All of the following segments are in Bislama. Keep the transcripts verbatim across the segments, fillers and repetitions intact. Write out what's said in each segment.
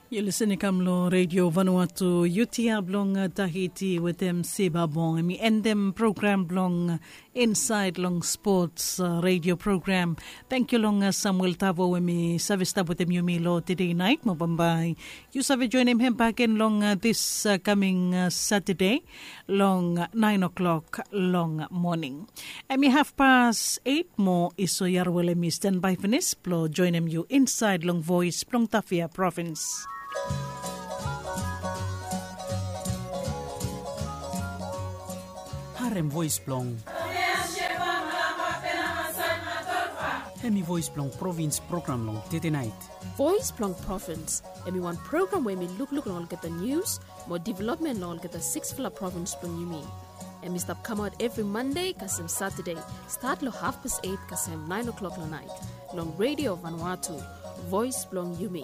Yu lisen i kam long Redio Vanuatu, yu tia blong Tahiti wetem Siba Bong. Em i endem program blong Insaed long Spots redio program. Tangkiu long Samuel Tavo we mi save stap wetem yumi long tede naet. Mo bambae yu save joenem hem bakegen long dis kaming Satade long naen o'klok long moning. Em i hafpas eit mo Iso Yarwel em i stanbae finis blong joenem yu insaed long Voes blong Tafea Provins. Harem voes blong Hemi Voes blong Provins program long tete naet. Voes blong Provins, hemi wan program we hemi lukluk long olgeta nius mo developmen long olgeta siksfala provins blong yumi. Hemi stap kamaot evri Mande kasem Satade, stat long hafpas eit kasem naen o'klok long naet, long Redio Vanuatu, Voes blong yumi.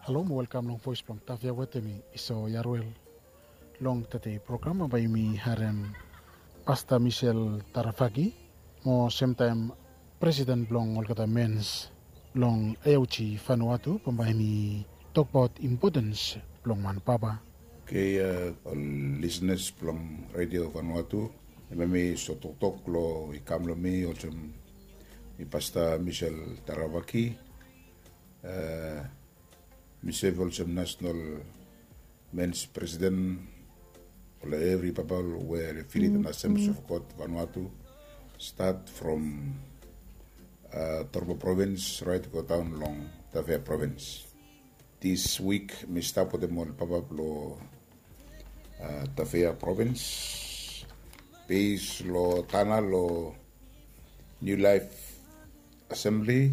Halo mo welkam long Voes blong Tafea wetem mi Iso Yarwel. Long tede program bambae yumi harem Pasta Misel Tarafaki mo semtaem presiden blong olgeta mens long Eauji Vanuatu, bambae hemi tokbaot impotens blong wan papa. Okei, ol lisenas blong Redio Vanuatu, hemia mi so toktok long i kam long mi olsem mi Pasta Misel Tarafaki. Mi sef olsem nasenal mens presiden blong evri papa we filit long Assemblies of God Vanuatu, stat from Torba provins raet go daon long Tafea provins. Dis wik mi stap wetem ol papa blong Tafea provins, bes long Tana long Niu Laef Asembli,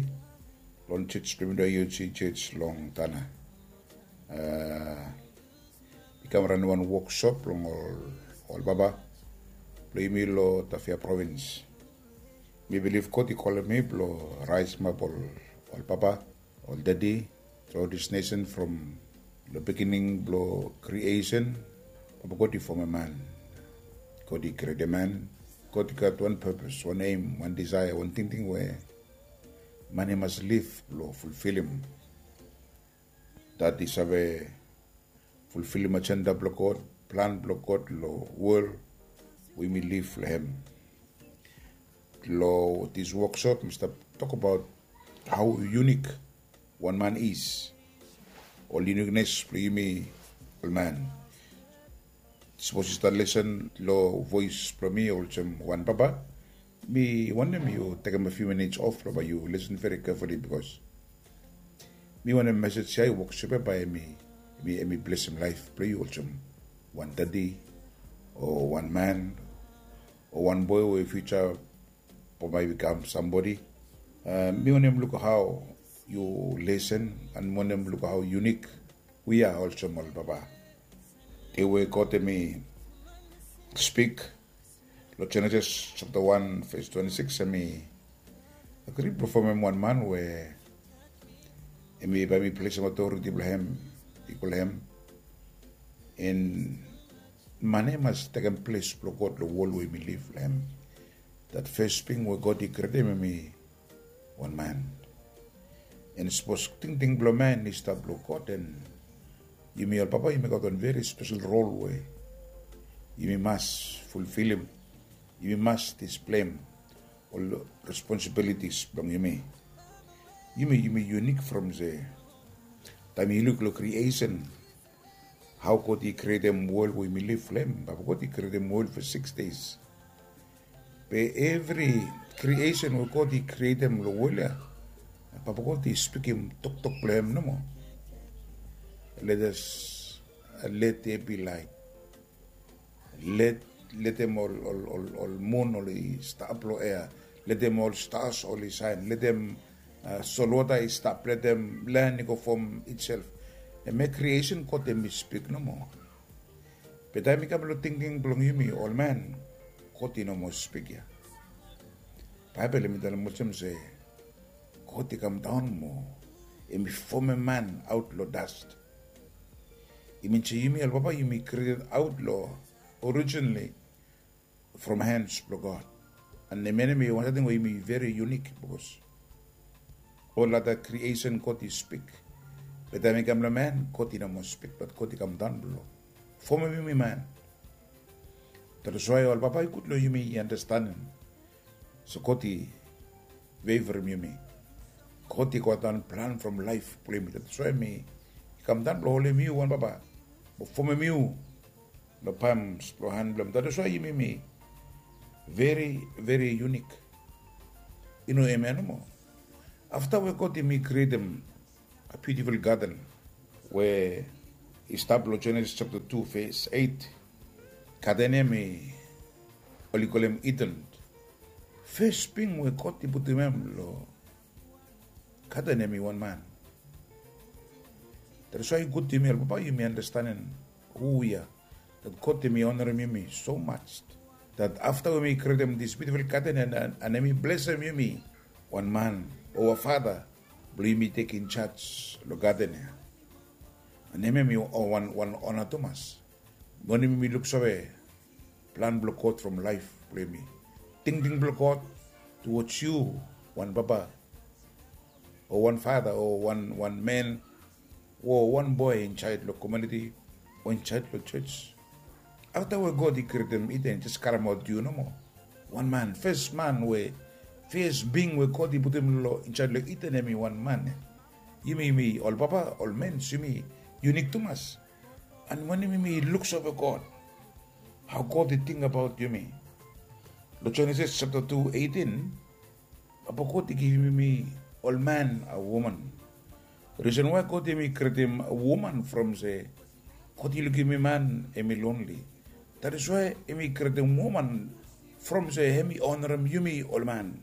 long jej blong yumi, Eauji jej long Tana. I kam ranem wan woksop long ol papa blong yumi long Tafea provins. Mi bilif God i kolem mi blong raesem ap ol papa, ol dedi, throughout this nation from long beginning blong creation. Papa God i fomem man. God i krietem man. God i gat wan purpose, wan aim, wan desire, wan tingting we man i mas liv blong fulfilim. Dat i save fulfilim ajenda blong God, plan blong God long wol we yumi liv long hem. Long this woksop mi stap tokbaot hao unik wan man is, ol uniknes blong yumi ol man. Sapos yu stap lesen long voes blong mi olsem wan papa, mi wantem yu tekem a few minutes of blong bae yu lesen veri carefully, bikos mi wantem mesej ya i woksop ya bae hemi blesem laef blong yu olsem wan dedi o wan man o wan boe we fiuja bambae i bikam sambodi. Mi wantem luk hao yu lesen, and mi wantem luk hao unik wi ya olsem ol papa. Dei we God hemi spik long Jenesis japta wan ves twante sikis, hemi agri blong fomem wan man we hemi bae hemi plesem otoriti blong hem i go long hem. And man ya i mas tekem ples blong God long wol we yumi liv long hem. Dat fes ting we God i krietem hemi wan man. And sapos tingting blong man i stap long God, and yumi ol papa yumi gat wan veri spesel rol we yumi mas fulfilim. Yumi mas displeim ol responsibilities blong yumi. Yumi yumi unik from se taem yu luk long kriesen, hao God i krietem wol we yumi liv long hem. Papa God i krietem wol for six days. Be evri kriesen we God i krietem long wol ya, Papa God i spikim toktok blong hem nomo. Let us, let there be light. Let, letem ol, ol, ol, ol mun oli stap long ea. Letem ol stars oli saen. Letem, a, solwota i stap. Letem land i go form itself. Hemia creation God hemi spik nomo. Be taem i kam long tingting blong yumi ol man, God i no moa spik ia. Baebol hemi talem olsem se God i kam daon mo hemi fomem man aot long dust. I min se yumi ol papa yumi krieted aot long, originally from hands blong God. And em ya hemi wan samting we hemi very unique, because ol other creation God i spik. Be taem i kam long man, God i no moa spik, but God i kam daon blong fomem yumi man. That is why ol papa, i gud long yumi i understandem. So God i favorim yumi. God i gat wan plan from laef blong yumi. That is why hemi kam daon blong holem yu wan papa, blong fomem yu long palms blong han blong hem. That is why yumi mi very, very unique. I no hemia nomo. Afta we God hemi krietem a beautiful garden we i stap long Genesis chapter two verse eight. Garden ya hemi oli kolem Eden. Fes bing we God i putum hem long garden ya hemi wan man. That is why i gud yumi ol papa yumi understandem hu we are. That God hemi honorem yumi so much that afta we hemi krietem this beautiful garden and, and, and hemi blesem yumi wan man o wan father blong yumi tek in charge long garden ya. And hemia hemi wan, wan honor tumas. Wanem yumi luksave plan blong God from laef blong yumi. Tingting blong God towards yu wan papa o wan father o wan, wan man o wan boe insaed long komuniti o insaed long jos. Afta we God i krietem Eden, jes karemaot yu nomo. Wan man, fes man we, fes bing we God i putum long insaed long Eden hemi wan man. Yumi, yumi ol papa, ol mens, yumi unique tumas. And wanem yumi luksave God, hao God i tingbaot yumi. Long Genesis chapter two eighteen, Papa God i givim yumi ol man a woman. Risen why God hemi krietem woman from se God i lukim man hemi lonely. That is why hemi krietem woman from se hemi honorem yumi ol man.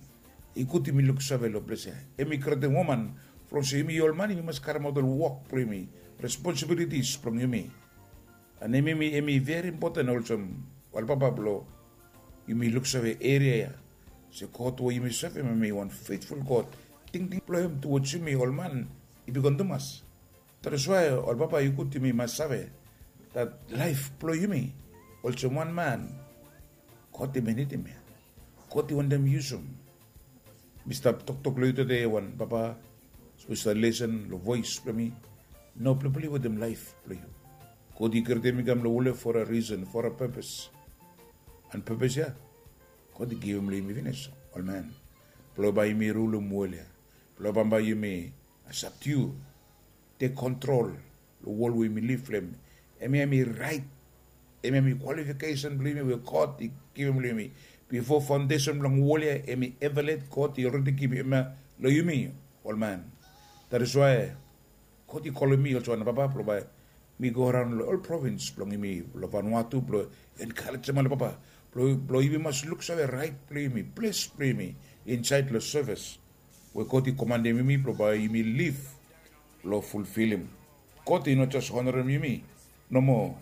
I gud yumi luksave long ples ya. Hemi krietem woman from se yumi ol man yumi mas karemaot ol wok blong yumi, responsibilities blong yumi. And hemi, hemi very important olsem ol papa blong yumi luksave eria ya. Se God we yumi sevem hemi wan faithful God. Tingting blong hem towards yumi ol man i bigwan tumas. That is why ol papa i gud yumi mas save that laef blong yumi olsem wan man God hemi nidim ya. God i wantem yusum. Mi stap toktok long yu tede wan papa, sapos yu stap lesen long voes blong mi, no pleplei wetem laef blong yu. God i krietem yu kam long wol ya for a reason, for a purpose. And purpose ya God i givim long yumi finis, ol man. Blong bae yumi rulum wol ya. Blong bambae yumi subdue, tek kontrol long wol we yumi liv long hem. Hemia hemi rait, hemia hemi kwalifikesen blong yumi we God i givim long yumi. Bifo faondesen blong wol ya hemi evaluet, God i olredi givim hemia long yumi ol man. That is why God i kolem mi olsem wan papa blong bae mi go araon long ol provins blong yumi long Vanuatu blong enkarejem ol papa blong yumi mas luksave rait blong yumi, ples blong yumi insaed long sevis we God i komanem yumi blong bae yumi liv blong fulfilim. God i no jes honorem yumi nomo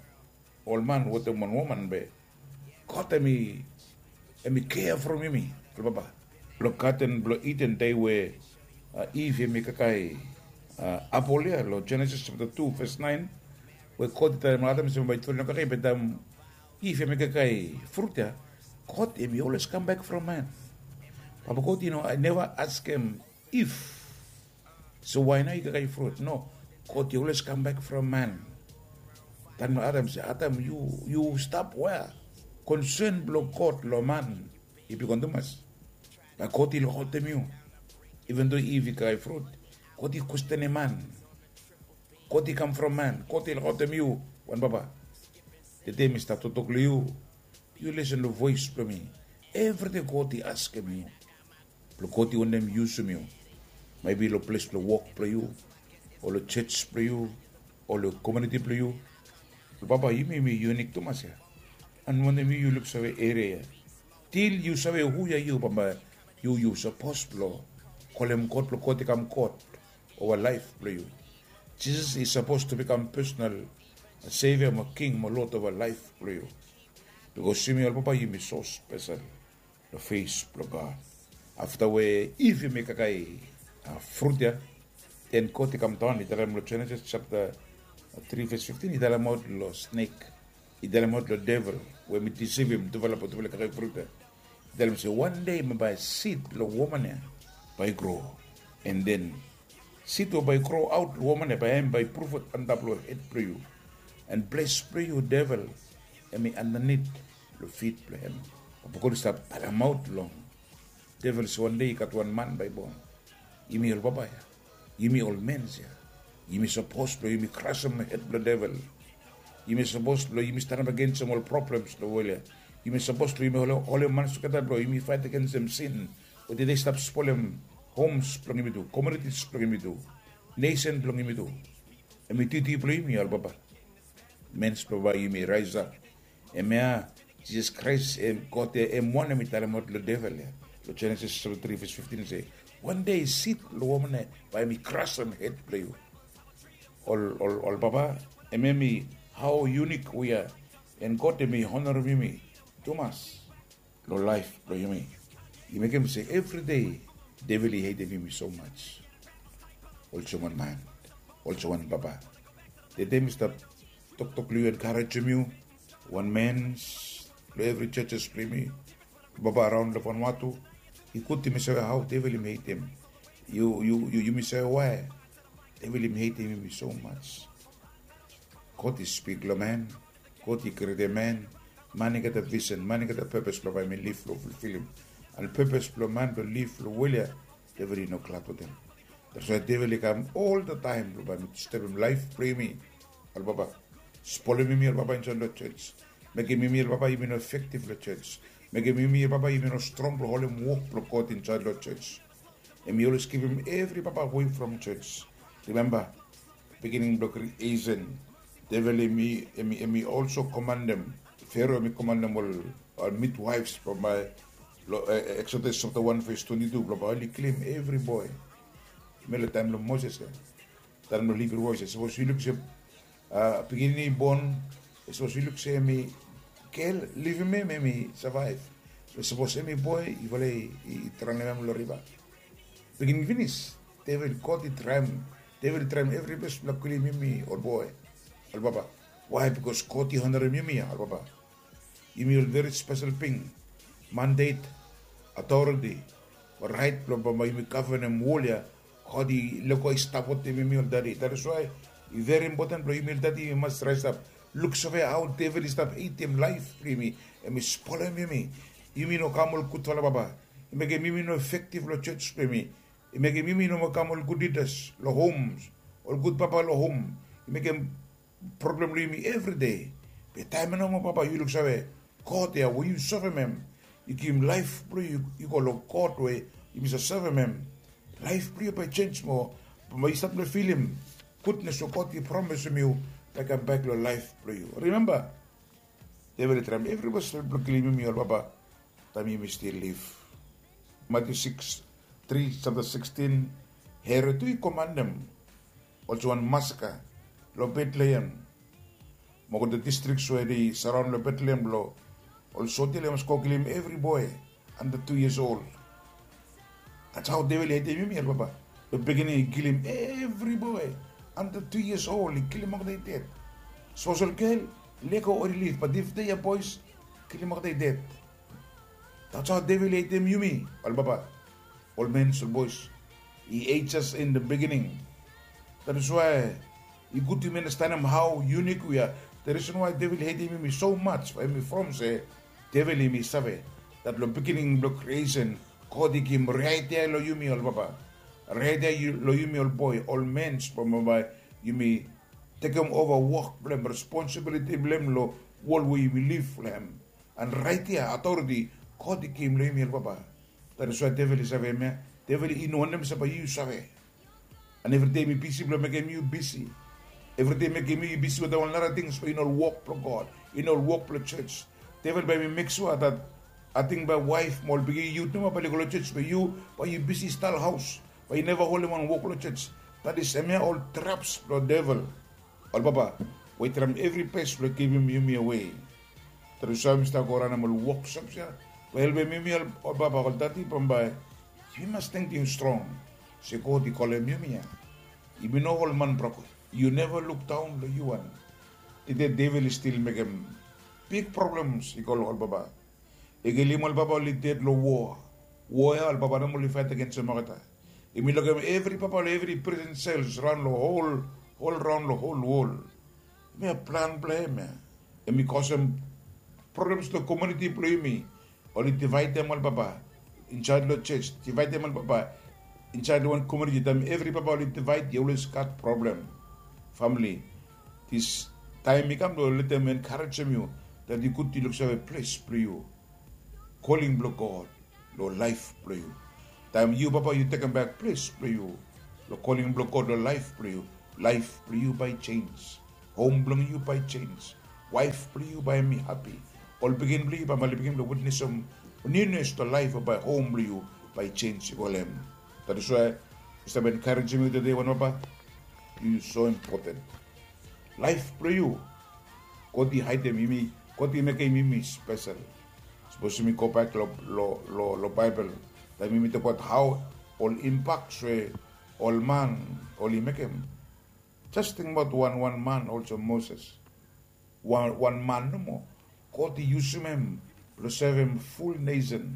ol man wetem wan woman be God hemi, hemi kea from yumi ol papa. Long gaden blong Eden, dei we Iv hemi kakae apol ya long Genesis chapter two verse nine, we God i talem long Adam se bambae i tufala i no kakae, be taem Iv hemi kakae frut ya, God hemi always kam bek from man. Papa God i no, i neva askem Iv, so wae nao i kakae frut? No, God i always kam bek from man. Talem long Adam se, Adam, yu, yu stap wea? Konsen blong God long man i bigwan tumas. Bae God i lukaotem yu. Even though Iv i kakae frut, God i kwestenem man. God i kam from man. God i lukaotem yu wan papa. Tede mi stap toktok long yu. Yu lesen long voes blong mi. Evridei God i askem yu. Blong God i wantem yusum yu. Maebi long ples blong wok blong yu, o long jos blong yu, o long komuniti blong yu. Long papa, yumi, yumi yunik tumas ya. And wantem yu, yu luksave eria ya. Til yu save hu ya yu, bambae yu, yu sapos blong kolem God blong God i kam God ova laef blong yu. Jisas i sapos tu bikam pesonal Sevia mo King mo Lod ova laef blong yu. Bikos yumi ol papa yumi so spesel long fes blong God. Afta we Iv i mekem kakae frut ya, den God i kam daon, i talem long Jenesis japta tri ves fiftin, i talemaot long snek, i talemaot long devil we hemi disivim tufala blong tufala i kakae frut ya. Talem se wan dei bae sid blong woman ya bae i gro, an den sid we bae i gro aot long woman ya bae hem bae i prufet antap long hed blong yu, an ples blong yu devel hem i andanit long fit blong hem. Papa God i stap talemaot long devel se wan dei i gat wan man bae i bon. Yumi ol papa ya, yumi ol mens ya, yumi sapos blong yumi krasem hed blong devel. Yumi sapos blong yumi stanap agensem ol problems long wol ya. Yumi sapos blong yumi holem han tugeta blong yumi faet agensem sin we tede i stap spolem homes blong yumi tu, komunitis blong yumi tu, nesen blong yumi tu. Hem i duti blong yumi ol papa, mens blong bae yumi raesap. Hemia Jisas Kraes hem God ya hem wanem i talemaot long devel ya. Long Jenesis sapta tri ves fiftin i se wan dei sid blong woman ya bae hem i krasem hed blong yu. Ol ol ol papa, hemia mi hao yunik we ya, an God hem i honarem yumi tumas long laef blong yumi. I mekem se evri dei devel i hetem yumi so maj. Olsem wan man, olsem wan papa, tede mi stap toktok long yu, enkarejem yu, wan mens long evri jejes blong yumi, papa araon long Vanuatu. I gud yumi save hao devel yumi hetem yu, yu, yu, yumi save wae devel yumi hetem yumi so maj. God i spik long man, God i krietem man. Man i gat visen, man i gat pepes blong bae hem i liv long fulfilim. An pepes blong man blong liv long wol ya, devel i no glad wetem. That's why devel i kam oltaem blong bae hem i distebem laef blong yumi ol papa, spolem yumi ol papa insaed long jos, mekem yumi ol papa yumi no efektif long jos, mekem yumi ol papa yumi no strong blong holem wok blong God insaed long jos. Hem i olwes givim evri papa awei from jos. Rimemba, beginning blong kriesen, devel hem i, hem i, hem i olso komandem, Fero hem i komandem ol, ol midwaefs blong bae long Eksodas sapta wan ves twenti tu blong bae oli kilim evri boe. Hemia long taem blong Moses ya, taem blong Hibru boes ya, sapos yu luk se pikinini i bon, sapos yu luk se hem i gel, livim hem, hem i savaev. Be sapos hem i boe, yufala i draonem hem long riva. Beginning finis, devel, God i traem, devel i traem evri ples blong kilim yumi ol boe, ol papa. Wae? Bikos God i honarem yumi ya ol papa. Yumi ol veri spesel bing, mandet, aotoriti, raet blong bambae yumi gavenem wol ya. God i lego i stap wetem yumi ol dadi. That is why i veri impoten blong yumi ol dadi yumi mas raesap, luksave hao devel i stap hetem laef blong yumi. Hem i spolem yumi. Yumi no kam ol gudfala papa. I mekem yumi no efektif long jos blong yumi. I mekem yumi no moa kam ol gud lidas long hom, ol gud papa long hom. I mekem problem long yumi evri dei. Be taem ya nomo papa, yu luksave God ya we yu sevem hem, i givim laef blong yu i go long God we yumi save sevem hem. Laef blong yu bae i jenj moa. Bambae yu stap long filim gudnes we God i promisim yu bae i kambak long laef blong yu. Rimemba, devel i traem evri ples blong kilim yumi ol papa taem yumi stil liv. Matiu sikis, tri, sapta sikstin, Herot tu i komandem olsem wan masaka long Betlehem mo ol distrik we i saraon long Betlehem blong ol soja oli mas go kilim evri boe anda tu yias ol. That's hao devel i hetem yumi ol papa. Long beginning i kilim evri boe anda tu yias ol, i kilim olgeta i ded. Sapos ol gel, lego oli liv, bat if they are boys, kilim olgeta i ded. That's hao devel i hetem yumi ol papa, ol mens, ol boes. I hate us in the beginning. That is why i gud yumi andastanem hao yunik wi ya. The reason why devel i hetem yumi so maj, bae hem i from se devel hem i save dat long beginning blong kriesen, God i givim rait ya long yumi ol papa, rait ya long yumi ol boe, ol mens, blong bambae yumi tekem ova wok blong hem, responsibiliti blong hem long wol we yumi liv long hem. An rait ya, aotoriti God i givim long yumi ol papa. That is why devel i save hemia. Devel i no wantem se bae yu save. An evri dei hem i bisi blong mekem yu bisi. Evri dei mekem yu bisi wetem ol nara tings we i no ol wok blong God, i no ol wok blong jos. Devel bae hem i mek sua dat ating bae waef mo ol pikinini yut nomo bae oli go long jos, be yu bae yu bisi stap long haos, bae yu neva holem wan wok long jos. Dat is hemia ol traps blong devel. Ol papa, we i traem evri ples blong givim yumi awe. Tru, so yumi stap go raon long ol woksops ya blong helpem yumi ol papa, ol dadi, bambae yumi mas tingting strong se God i kolem yumi ya. Yumi no ol man broko. Yu neva lukdaon long yu wan. Tede devel i stil mekem big problems i go long ol papa. I kilim ol papa oli ded long wo. Wo ya ol papa nomo oli faet agensim olgeta. Yumi lukim evri papa long evri prison sels raon long hol hol raon long hol wol. Yumi ya plan blong em ya. Yumi kosem problems long komuniti blong yumi. Oli divaedem ol papa insaed long ses, divaedem ol papa insaed long wan komuniti. Taem evri papa oli divaed, yu oles gat problem. Famili, dis taem i kam blong letem enkarejem yu dat i gud yu luksave ples blong yu, koling blong God long laef blong yu. Taem yu papa yu tekembek ples blong yu long koling blong God long laef blong yu, laef blong yu bae i jenj. Hom blong yu bae i jenj. Waef blong yu bae hem i hapi. Ol pikinini blong yu bae hem oli bigin blong witnesem niunius long laef, bae hom blong yu bae i jenj i go long hem. Dat is wae mi stap enkarejem yu tede wan papa. Yu so impoten. Laef blong yu, God i haedem yumi, God i mekem yumi spesel. Sapos yumi gobak long Baebol, taem yumi tokbaot hao ol impaks we ol man oli mekem. Jes tingbaot wan wan man olsem Moses. Wan man nomo God i yusum hem blong sevem ful nesen.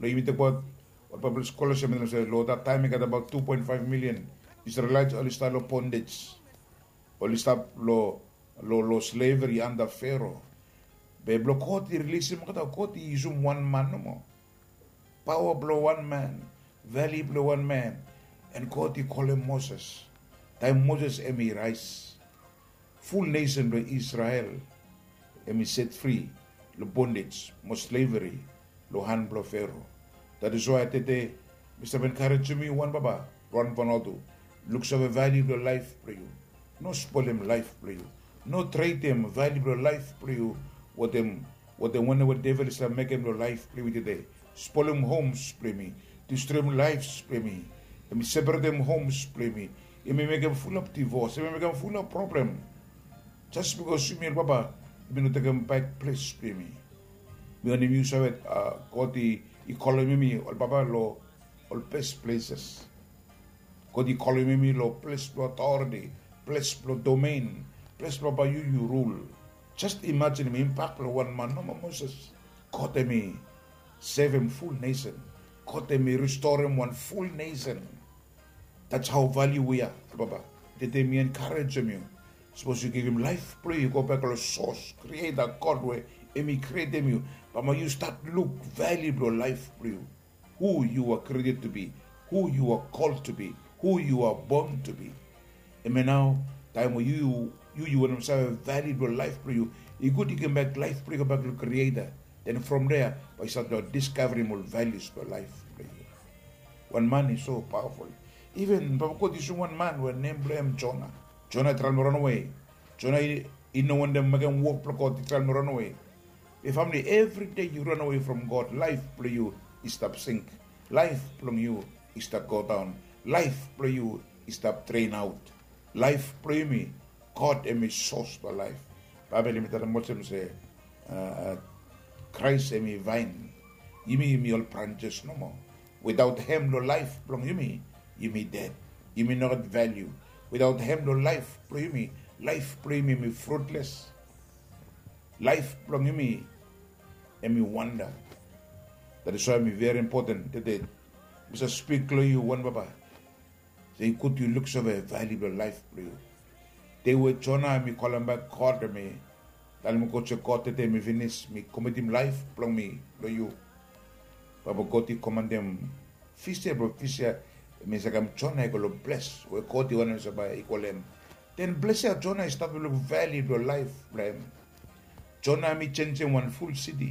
Blong yumi tokbaot ol Baebol skola se long dat taem i gat abaot tu poen faef milian Isrelaet oli stap long bondej. Oli stap long long long sleveri anda Fero. Be blong God i rilisim olgeta, God i yusum wan man nomo. Paoa blong wan man, vali blong wan man. An God i kolem Moses. Taem Moses hem i raes, ful nesen blong Isrel hem i set fri long bondej mo sleveri long han blong Fero. Dat is wae tede mi stap enkarejem yu wan papa, wan Vanuatu, luksave valiu blong laef blong yu. No spolem laef blong yu. No tretem valiu blong laef blong yu wetem wetem wanem we devel i stap mekem long laef blong yumi tede. Spolem homs blong yumi, distroem laefs blong yumi. Hem i separetem homs blong yumi. Hem i mekem fulap divos, hem i mekem fulap problem. Jes bikos yumi ol papa yumi no tekem baek ples blong yumi. Mi wantem yu save, God i kolem yumi ol papa long ol bes pleses. God i kolem yumi long ples blong otoriti, ples blong domen, ples blong bae yu yu rul. Jes imajinim impak blong wan man nomo Moses. God hem i sevem ful nesen. God hem i ristorem wan ful nesen. Dats hao valiu we ya, papa. Tede mi enkarejem yu. Sapos yu givim laef blong yu i gobak long sos, krieta God we hem i krietem yu, bambae yu stat luk valiu blong laef blong yu. Hu yu a krieted to be, hu yu a kol to be, hu yu a bon to be. Hemia nao taem we yu yu yu wantem save valiu blong laef blong yu, i gud yu givimbak laef blong yu gobak long Krieta. Den from dea bae yu stat long diskaverim ol valius blong laef blong yu. Wan man i so paoaful. Iven papa God i yusum wan man we nem blong hem Jona. Jona i traem long ranawe. Jona i no wantem mekem wok blong God, i traem long ranawe. Be famili, evride yu ranawe from God, laef blong yu i stap sink. Laef blong yu i stap godaon. Laef blong yu i stap drenaot. Laef blong yumi, God hem i sos blong laef. Baebol hem i talem olsem se Kraes hem i vaen. Yumi yumi ol branjes nomo. Wetaot hem long laef blong yumi, yumi ded. Yumi no gat valiu. Wetaot hem long laef blong yumi, laef blong yumi hem i frutles. Laef blong yumi hem i wanda. Dat is wae hem i veri impoten tede. Mi save spik long yu wan papa, se i gud yu luksave valiu blong laef blong yu. Dei we Jona hem i kalembak God, hem i talem God se, God, tede mi finis, mi komitim laef blong mi long yu. Bambae God i komandem fis ya, blong fis ya hem i sakem Jona i go long ples we God i wantem se bae i go long hem. Den ples ya Jona i stat long luk valiu blong laef blong hem. Jona hem i jenjem wan ful siti.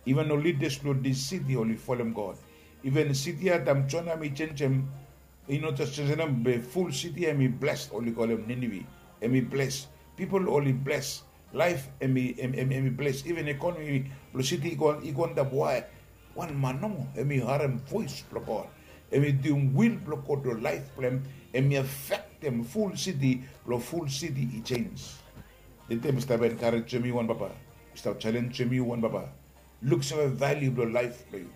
Iven ol lidas blong dis siti oli folem God. Iven siti ya taem Jona hem i jenjem, i no jes jenjem be ful siti ya hem i bles, oli kolem Ninive. Hem i bles. Pipol oli bles. Laef hem i hem i bles. Iven ekonomi blong siti i go antap. Wae? Wan man nomo hem i harem voes blong God. Hem i duim wil blong God long laef blong hem. Hem i afektem ful siti blong ful siti i jenj. Tede mi stap enkarejem yu wan papa. Mi stap jalenjem yu wan papa. Luksave valiu blong laef blong yu.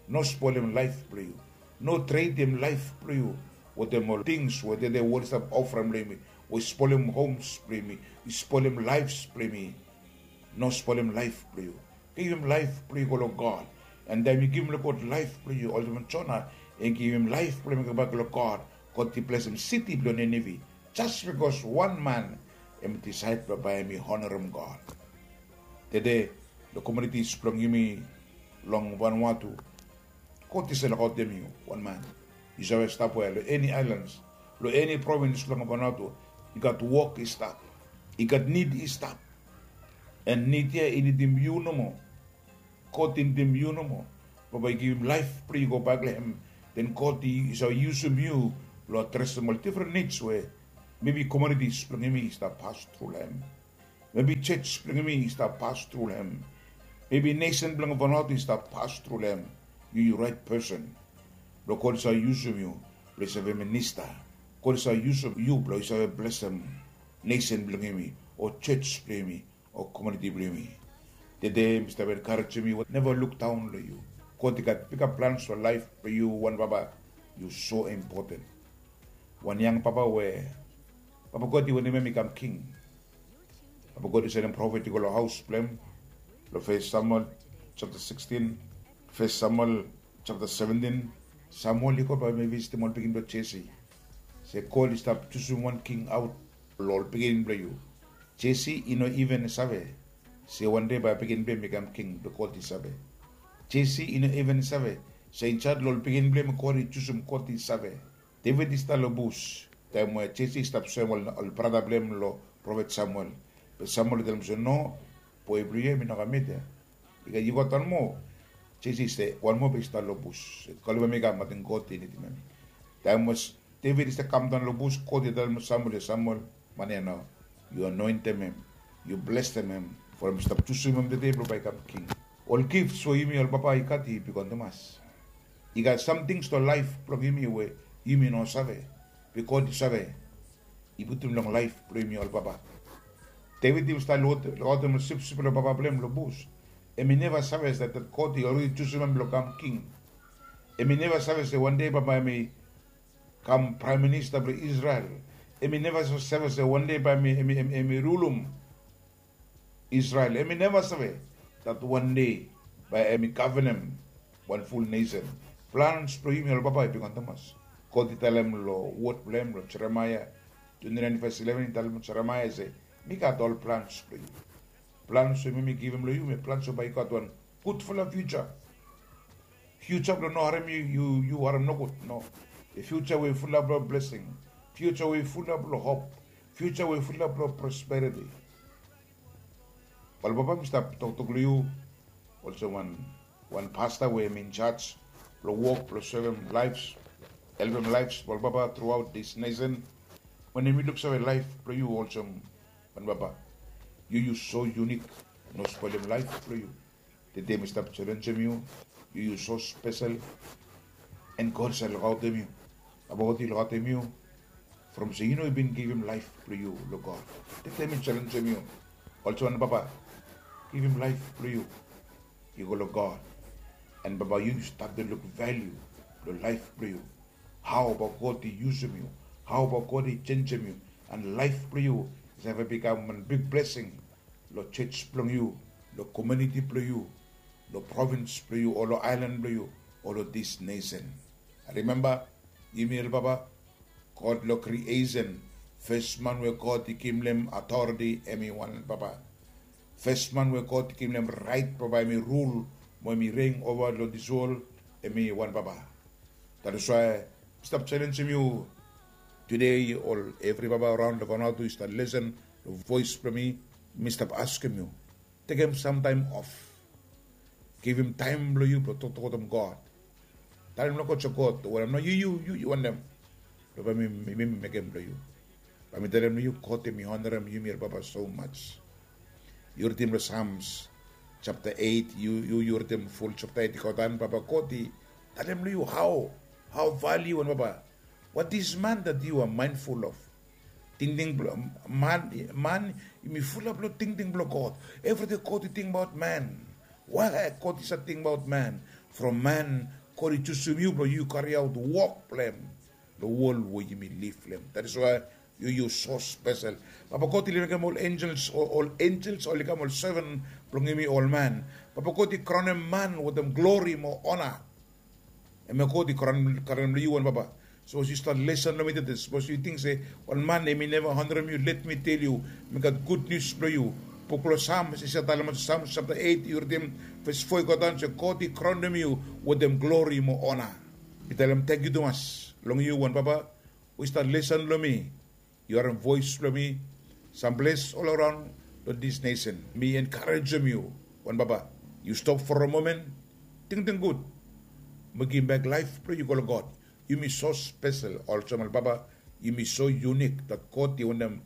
No spolem laef blong yu. No tretem laef blong yu wetem ol tings we tede wol i stap ofrem long yumi, we i spolem homs blong yumi, i spolem laefs blong yumi. No spolem laef blong yu. Givim laef blong yu go long God. An taem yu givim long God laef blong yu, olsem Jona i givim laef blong hem i gobak long God, God i blesem siti blong Ninive. Jas bikos wan man hem i disaed blong bae hem i onarem God. Tede, long komunitis blong yumi long Vanuatu, God i save lukaotem yu, wan man. Yu save stap we long eni aelans, long eni provins blong Vanuatu, i gat wok i stap, i gat nid i stap. An nid ya i nidim yu nomo. God i nidim yu nomo. Baba i givim laef blong yu gobak long hem. Den God i save yusum yu blong adresem ol difren nids we mebi komunitis blong yumi i stap pas tru long hem. Mebi jos blong yumi i stap pas tru long hem. Mebi nesen blong Vanuatu i stap pas tru long hem. Yu yu raet pesen blong God i save yusum yu blong yu save minista. God i save yusum yu blong yu save blesem nesen blong yumi, o jos blong yumi, o komuniti blong yumi. Tede mi stap enkarejem yu, neva lukdaon long yu. God i gat bigfala plans long laef blong yu, wan papa. Yu so impoten. Wan yang papa we papa God i wantem hem i kam king. Papa God i sendem profet i go long haos blong hem. Long Fes Samuel japta sikstin, Fes Samuel japta seventin, Samuel i go bae hem i visitim ol pikinini blong Jesi. Se God i stap jusum wan king aot long ol pikinini blong yu. Jesi i no iven save se wande bae pikinini blong hem i kam king, be God i save. Jesi i no iven save se insaed long ol pikinini blong hem God i jusum, God i save. Devid i stap long bus taem we Jesi i stap soem ol brata blong hem long profet Samuel. Be Samuel i talem se, no, boe blong yu hem i no kam yet ya. I gat, yu gat wan moa. Jesi i se, wan moa be i stap long bus. Kolem hem i kam, ating God i nidim hem. Taem we Devid i stap kamdaon long bus, God i talem long Samuel, Samuel, man ya nao, yu anoentem hem, yu blesem hem, from mi stap jusum hem tede blong bae i kam king. Ol gifts we yumi ol papa i gat i bigwan tumas. I gat samting long laef blong yumi we yumi no save, be God i save. I putum long laef blong yumi ol papa. Devid i stap lukaotem ol sipsip blong papa blong hem long bus. Hem i neva save se dat God i olredi jusum hem blong kam king. Hem i neva save se wande papa hem i kam praem minista blong Israel. Hem i neva save se wande bae hem i rulum Israel. Hem i neva save dat wande bae hem i gavenem wan ful nesen. Plans blong yumi ol papa i bigwan tumas. God i talem long wod blong hem long Jeremaea twenti naen, ves ileven, i talem long Jeremaea se, mi gat ol plans blong yu. Plans we mi givim long yu, mi plans we bae yu gat wan gudfala fiuja. Fiuja blong no harem yu, yu harem nogut, no. Fiuja we i fulap long blesing. Fiuja we i fulap long hop. Fiuja we i fulap long prosperiti. Ol papa, mi stap toktok long yu olsem wan pasta we hem i injaj blong wok blong sevem laefs, helpem laefs blong ol papa truaot dis nesen. Wanem, mi luksave laef blong yu olsem wan papa. Yu yu so yunik, no spolem laef blong yu. Tede mi stap jalenjem yu. Yu yu so spesel. An God save lukaotem yu. Papa God i lukaotem yu from se yu no i bin givim laef blong yu long God. Tede mi jalenjem yu olsem wan papa, givim laef blong yu i go long God. An papa, yu yu statem luk valiu blong laef blong yu. Hao papa God i yusum yu, hao papa God i jenijem yu, an laef blong yu i save bikam wan big blesing long jos blong yu, long komuniti blong yu, long provins blong yu, o long aelan blong yu, o long dis nesen. Rimemba, yumi ol papa, God long kriesen, fes man we God i givim long hem atoriti hem i wan papa. Fes man we God i givim long hem raet blong bae hem i rul mo hem i rein ova long dis wol, hem i wan papa. That is why mi stap jalenjem yu tede, ol evri papa araon long Vanuatu i stap lesen long voes blong mi. Mi stap askem yu, tekem samtaem of. Givim taem blong yu blong toktok wetem God. Talem long God se, God, wanem nao yu yu yu wantem blong bae mi mekem blong yu? Bae mi talem long yu, God hem i onarem yumi ol papa so much. Yu ridim long Psalms japta eit, yu yu yu ridim ful japta eit i go daon, papa God i talem long yu hao, hao valiu wan papa. What is man that you are mindful of? Tingting blong man, man yumi fulap long tingting blong God. Evri dei God i tingbaot man. Why God i save tingbaot man? From man God i jusum yu blong yu kariaot wok blong hem long wol we yumi liv long hem. That is why yu yu so spesel. Papa God i mekem ol enjels, ol enjels oli kam ol seven blong yumi ol man. Papa God i kraunem man wetem glori mo ona. Em ya God i kraunem long yu wan papa. Sapos yu stat lesen long mi tete, sapos yu ting se wan man em i neva honrem yu, let mi tel yu, mi gat gud nius blong yu. Buk long Sams i save talem olsem, Sams sapta eit yu ridim ves fo i go daun se God i kraunem yu wetem glori mo ona. Mi talem tangkiu tumas long yu wan papa we i stat lesen long mi. Yu harem voes blong mi samples ol araon long dis nesen. Mi enkarejem yu wan papa, yu stop for a momen, tingting gud mo givimbek laef blong yu go long God. Yumi so spesel olsem ol papa. Yumi so yunik dat God i wantem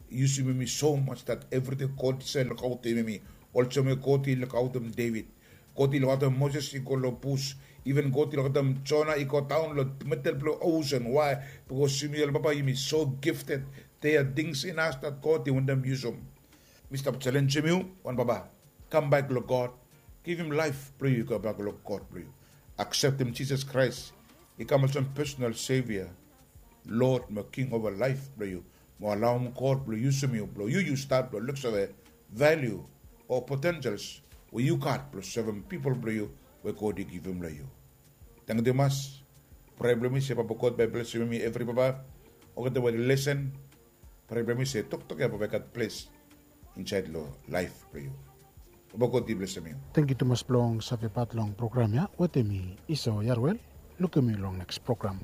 yusum yumi so mas dat evriting God i save lukaotem yumi olsem we God i lukaotem Devit. God i lukaotem Moses i go long bus. Iven God i lukaotem Jona i go daon long medel blong osen. Wae? Bikos yumi ol papa yumi so gifted. Dea tings inas dat God i wantem yusum. Mi stap jalenjem yu wan papa, kambek long God. Givim laef blong yu i go bak long God blong yu. Akseptem Jisas Kraes i kam olsem pesonal sevia, Lod mo King ova laef blong yu, mo alaom God blong yusum yu blong yu yu stat blong luksave valiu o potensels we yu gat blong sevem pipol blong yu we God i givim long yu. Tangkiu tumas. Prea blong mi se Papa God bai blesim yumi evri papa olgeta we lesen. Prea blong mi se toktok ya bai gat ples insaed long laef blong yu. Papa God i blesim yu. Tangkiu tumas blong save pat long program ya wetem mi Iso Yarwel. Lukim yu long neks program.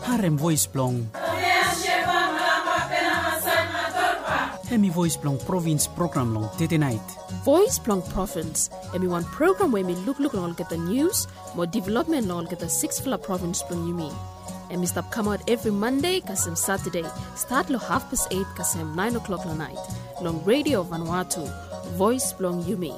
Harem voes blong hemi voes blong provins program long tete nait. Voes blong provins hemi wan program we hemi lukluk long olgeta nius mo developmen long olgeta siksfala provins blong yumi. Hemi stap kamaot evri Mande kasem Satade, stat long hafpas eit kasem naen oklok long nait, long Redio Vanuatu, voes blong yumi.